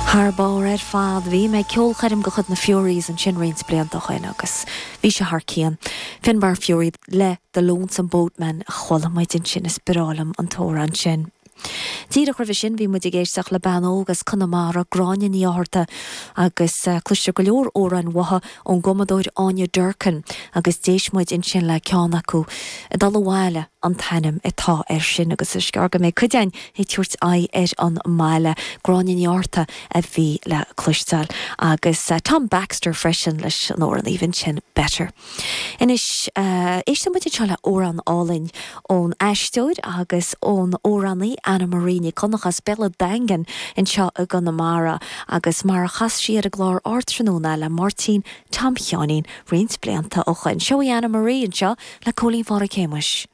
Thar barr ar fad. Bhí mé ag ceolchoirm de chuid na Fureys ansin roinnt blianta ó shin agus bhí sé thar cionn. Finbar Furey le The Lonesome Boatman a chuala muid ansin, is breá liom an t-amhrán sin. Díreach roimhe sin bhí muid ag éisteacht le bean óg as Conamara, Gráinne Ní Fhátharta, agus cloistear go leor amhráin mhaithe ón gcumadóir Áine Durkin agus d'éist muid ansin le ceann acu, Ag Dul Abhaile an t-ainm atá air sin agus is gearr go mbeidh cuid againn ag tabhairt aghaidh ar an mbaile. Gráinne Ní Fhátharta a bhí le cloisteáil agus Tom Baxter freisin leis an amhrán aoibhinn sin Better. Anois, éistfidh muid anseo le amhrán álainn ón aisteoir agus ón amhránaí Anna Marie Nic Dhonncha as Béal an Daingin anseo i gConamara agus mar a chas sí ar an gclár Ardtráthnóna le Máirtín Tom Sheáinín roinnt blianta ó shoin. Seo í Anna Marie anseo le Cóilín Phádraig Shéamuis.